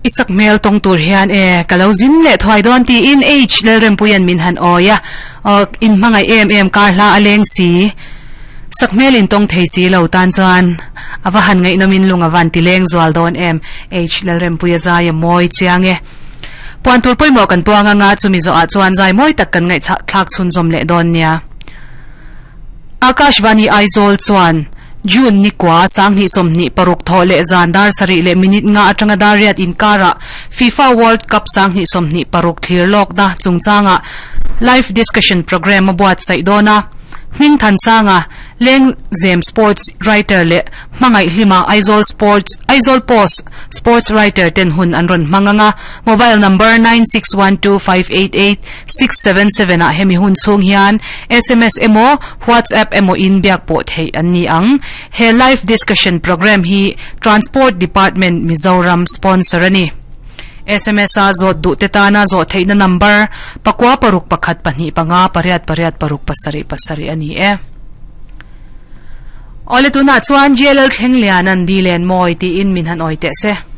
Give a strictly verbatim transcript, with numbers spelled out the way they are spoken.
Isak mail tong tur hian e kalo zin le thwai don ti in H lalrem puyan min han oya in mangai em em kar hla aleng si sakmel in tong thei si lo tan chuan awa han ngai nomin lunga van ti leng zwal don em H lalrem puya zai moi chiang e puan tur poimo kan puanga nga chumi zo a chuan zai moi tak kan ngai thlak chun zom le don nia Akashvani Aizawl chuan June ni kwa sang ni som ni paruk tho le zandar sari le minute nga atanga dariat in kara FIFA World Cup sang ni som ni paruk thlir lok da chungchanga live discussion program abuat sai dona Ming Than Sanga Leng Zem sports writer le mangai hlima Aizawl Sports Aizawl Post sports writer ten hun anron manganga mobile number nine six one two five eight eight six seven seven a hemi hun chung hian S M S emo WhatsApp emo in biak po thei anni ang he live discussion program hi Transport Department Mizoram sponsor ani S M S a zot du te tana zo theina number pakwa paruk pakhat pahnih panga pariat pariat paruk pasari pasari ani e ole tuna chuan J L thleng lian an dilen moi ti in min han oi te se.